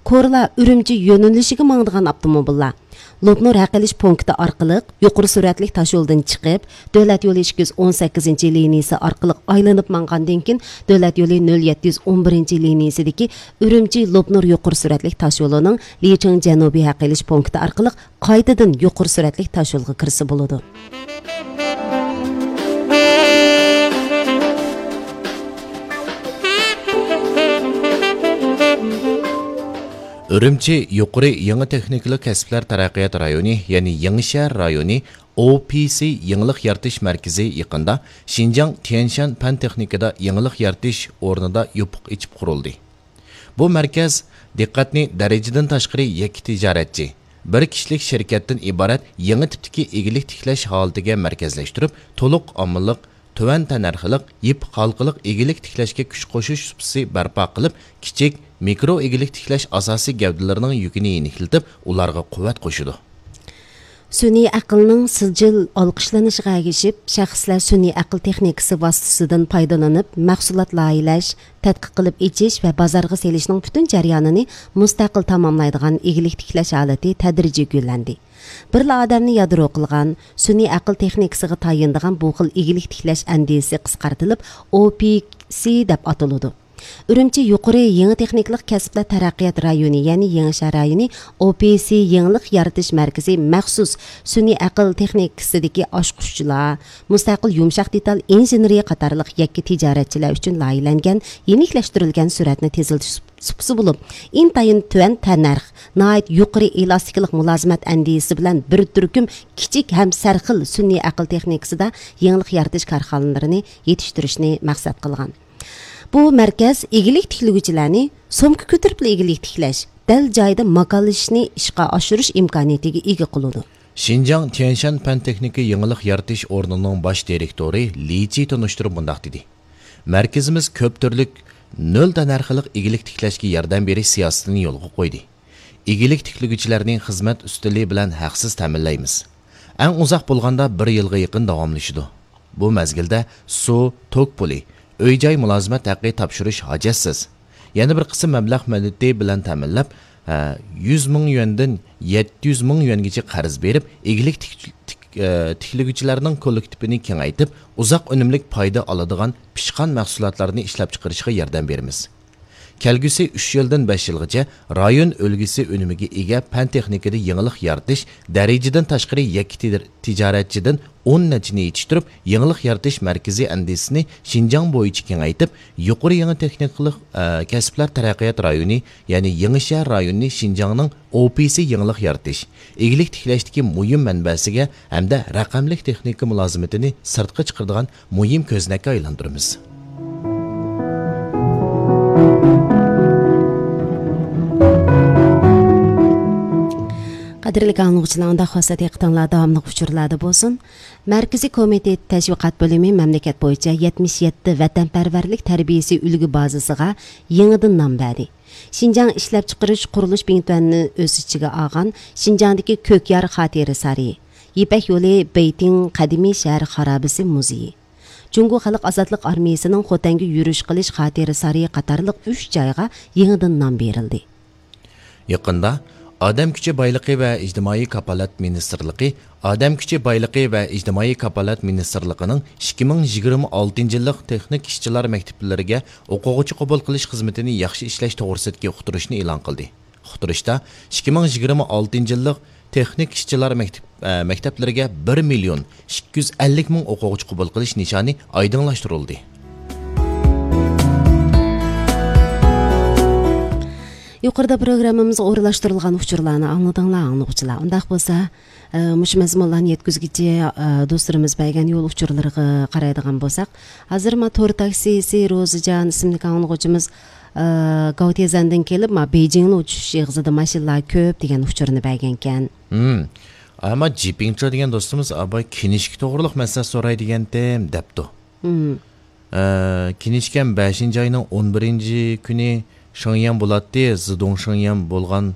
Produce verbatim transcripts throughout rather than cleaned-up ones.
كورلا ئۈرۈمچى يۆنىلىشىگە ماڭىدىغان ئاپتوموبىللار لوپنۇر ھەق ئېلىش پونكىتى ئارقىلىق يۇقىرى سۈرئەتلىك تاشيولدىن چىقىپ، دۆلەت يولى ئىككى يۈز ئون سەككىزىنچى لىنىيىسى ئارقىلىق ئايلىنىپ ماڭغاندىن كېيىن، دۆلەت يولى نۆل يەتتە يۈز ئون بىرىنچى لىنىيىسىدىكى ئۈرۈمچى لوپنۇر يۇقىرى سۈرئەتلىك تاشيولىنىڭ لىچىڭ جەنۇبىي ھەق ئېلىش پونكىتى ئارقىلىق قايتىدىن يۇقىرى سۈرئەتلىك تاشيولغا كىرسە بولىدۇ. ئۈرۈمچى يۇقىرى يېڭى تېخنىكىلىق كەسىپلەر تەرەققىيات رايونى، يەنى يېڭىشەھەر رايونى، ئو پى سى يېڭىلىق يارىتىش مەركىزى يېقىندا شىنجاڭ تيەنشان پەن تېخنىكىدا يېڭىلىق يارىتىش ئورنىدا يوپۇق ئېچىپ قۇرۇلدى. بۇ مەركەز دىققەتنى دەرىجىدىن تاشقىرى يەككە تىجارەتچى، بىر كىشىلىك شىركەتتىن ئىبارەت يېڭى تىپتىكى ئىگىلىك تىكلەش ھالىتىگە مەركەزلەشتۈرۈپ، تولۇق ئاممىلىق، تۆۋەن تەننەرخلىق، يىپ ھالقىلىق ئىگىلىك تىكلەشكە كۈچ قوشۇش سۇپىسى بەرپا قىلىپ، كىچىك، مىكرو ئىگىلىك تىكلەش ئاساسىي گەۋدىلىرىنىڭ يۈكىنى يېنىكلىتىپ، ئۇلارغا قۇۋۋەت قوشىدۇ. سۈنئىي ئەقىلنىڭ سىجىل ئالقىشلىنىشىغا ئەگىشىپ، شەخسلەر سۈنئىي ئەقىل تېخنىكىسى ۋاسىتىسىدىن پايدىلىنىپ، مەھسۇلات لايىھەلەش، تەتقىق قىلىپ ئېچىش ۋە بازارغا سېلىشنىڭ پۈتۈن جەريانىنى مۇستەقىل تاماملايدىغان ئىگىلىك تىكلەش ھالىتى تەدرىجىي گۈللەندى. بىرلا ئادەمنى يادرو قىلغان، سۈنئىي ئەقىل تېخنىكىسىغا تايىنىدىغان بۇ خىل ئىگىلىك تىكلەش ئەندىزىسى قىسقارتىلىپ، ئو پى سى دەپ ئاتىلىدۇ. ئۈرۈمچى يۇقىرى يېڭى تېخنىكىلىق كەسىپلەر تەرەققىيات رايونى، يەنى يېڭىشەھەر رايونى، ئو پى سى يېڭىلىق يارىتىش مەركىزى مەخسۇس سۈنئىي ئەقىل تېخنىكىسىدىكى ئاچقۇچلار، مۇستەقىل يۇمشاق دېتال ئىنژېنېرىيە قاتارلىق يەككە تىجارەتچىلەر ئۈچۈن لايىھەلەنگەن يېنىكلەشتۈرۈلگەن سۈرئەتنى تېزلىتىش سۇپىسى بولۇپ، ئىنتايىن تۆۋەن تەننەرخ، ناھايىتى يۇقىرى ئېلاستىكىلىق مۇلازىمەت ئەندىزىسى بىلەن بىر تۈركۈم كىچىك ھەم سەرخىل سۈنئىي ئەقىل تېخنىكىسىدا يېڭىلىق يارىتىش كارخانىلىرىنى يېتىشتۈرۈشنى مەقسەت قىلغان. بۇ مەركەز ئىگىلىك تىكلىگۈچىلەرنى سومكا كۆتۈرۈپلا ئىگىلىك تىكلەش، دەل جايىدا ماكانلىشىشنى ئىشقا ئاشۇرۇش ئىمكانىيىتىگە ئىگە قىلىدۇ. شىنجاڭ تيەنشان پەن تېخنىكا يېڭىلىق يارىتىش ئورنىنىڭ باش دىرېكتورى لى چى تونۇشتۇرۇپ مۇنداق دېدى: مەركىزىمىز كۆپ تۈرلۈك نۆل تەننەرخلىق ئىگىلىك تىكلەشكە ياردەم بېرىش سىياسىتىنى يولغا قويدى. ئىگىلىك تىكلىگۈچىلەرنى خىزمەت ئۈستىلى بىلەن ھەقسىز تەمىنلەيمىز. ئەڭ ئۇزاق بولغاندا بىر يىلغا يېقىن داۋاملىشىدۇ. بۇ مەزگىلدە سۇ، توك پۇلى، ئۆي-جاي مۇلازىمەت ھەققى تاپشۇرۇش ھاجەتسىز. يەنە بىر قىسىم مەبلەغ مۆلچىتى بىلەن تەمىنلەپ، ھە، يۈز مىڭ يۈەندىن يەتتە يۈز مىڭ يۈەنگىچە قەرز بېرىپ، ئىگىلىك تىك-، تىك-، ئە، تىكلىگۈچىلەرنىڭ كوللېكتىپىنى كېڭەيتىپ، ئۇزاق ئۈنۈملۈك پايدا ئالىدىغان پىشقان مەھسۇلاتلارنى ئىشلەپچىقىرىشقا ياردەم بېرىمىز. كەلگۈسى ئۈچ يىلدىن بەش يىلغىچە رايون ئۈلگىسى ئۈنۈمىگە ئىگە پەن تېخنىكىدا يېڭىلىق يارىتىش، دەرىجىدىن تاشقىرى يەككە تىدىر-، تىجارەتچىدىن ئون نەچچىنى يېتىشتۈرۈپ، يېڭىلىق يارىتىش مەركىزى ئەندىزىسىنى شىنجاڭ بويىچە كېڭەيتىپ، يۇقىرى يېڭى تېخنىكىلىق، ئە، كەسىپلەر تەرەققىيات رايونى، يەنى يېڭىشەھەر رايونىنى شىنجاڭنىڭ ئو پى سى يېڭىلىق يارىتىش، ئىگىلىك تىكلەشتىكى مۇھىم مەنبەسىگە ھەمدە رەقەملىك تېخنىكا مۇلازىمىتىنى سىرتقا چىقىرىدىغان مۇھىم كۆزنەككە ئايلاندۇرىمىز. قەدىرلىك ئاڭلىغۇچىلار، ئۇنداق بولسا دىققىتىڭلار داۋاملىق ئۇچۇرلاردا بولسۇن. مەركىزىي كومىتېت تەشۋىقات بۆلۈمى مەملىكەت بويىچە يەتمىش يەتتە ۋەتەنپەرۋەرلىك تەربىيىسى ئۈلگە بازىسىغا يېڭىدىن نام بەردى. شىنجاڭ ئىشلەپچىقىرىش قۇرۇلۇش بىڭتۈەننى ئۆز ئىچىگە ئالغان شىنجاڭدىكى كۆكيار خاتىرە سارىيى، يىپەك يولى بېيتىڭ قەدىمىي شەھەر خارابىسى مۇزېيى، جۇڭگو خەلق ئازادلىق ئارمىيىسىنىڭ خوتەنگە يۈرۈش قىلىش خاتىرە سارىيى قاتارلىق ئۈچ جايغا يېڭىدىن نام بېرىلدى. يېقىندا ئادەم كۈچى بايلىقى ۋە ئىجتىمائىي كاپالەت مىنىستىرلىقى ئادەم كۈچى بايلىقى ۋە ئىجتىمائىي كاپالەت مىنىستىرلىقىنىڭ ئىككى مىڭ يىگىرمە ئالتىنچى يىللىق تېخنىك ئىشچىلار مەكتەپلىرىگە ئوقۇغۇچى قوبۇل قىلىش خىزمىتىنى ياخشى ئىشلەش توغرىسىدىكى ئۇقتۇرۇشنى ئېلان قىلدى. ئۇقتۇرۇشتا ئىككى مىڭ يىگىرمە ئالتىنچى يىللىق تېخنىك ئىشچىلار مەكتەپ، ئە، مەكتەپلىرىگە بىر مىليون ئىككى يۈز ئەللىك مىڭ ئوقۇغۇچى قوبۇل قىلىش نىشانى ئايدىڭلاشتۇرۇلدى. يۇقىرىدا پروگراممىمىزغا ئورۇنلاشتۇرۇلغان ئۇچۇرلارنى ئاڭلىدىڭلار، ئاڭلىغۇچىلار. ئۇنداق بولسا، ئە، مۇشۇ مەزمۇنلارنى يەتكۈزگۈچى، ئە، دوستلىرىمىز بەرگەن يول ئۇچۇرلىرىغا قارايدىغان بولساق، ھازىر ما تور تاكسىسى روزىجان ئىسىملىك ئاڭلىغۇچىمىز، ئە، گاۋتيېزەندىن كېلىپ، ما بېيجىڭنى ئۇچۇش ئېغىزىدا ماشىنىلار كۆپ دېگەن ئۇچۇرنى بەرگەنكەن. ھىم. ئەمما جىپىڭچا دېگەن دوستىمىز، ئاباي كىنىشكا توغرۇلۇق مەسلىھەت سوراي دېگەنتىم، دەپتۇ. ھىم. ئە، كىنىشكام بەشىنچى ئاينىڭ ئون بىرىنچى كۈنى شېڭيەن بولاتتى، زىدۇڭ شېڭيەن بولغان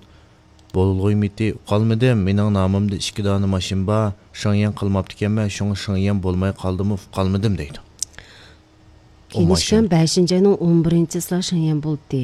بولغۇيمىتى، ئۇقالمىدىم. مېنىڭ نامىمدا ئىككى دانە ماشىنا بار، شېڭيەن قىلماپتىكەنمەن، شۇڭا شېڭيەن بولماي قالدىمۇ، ئۇقالمىدىم دەيدۇ. ئۇ كىنىشكام ماشىنا. بەشىنچى ئاينىڭ ئون بىرىنچىسىلا شېڭيەن بولدى.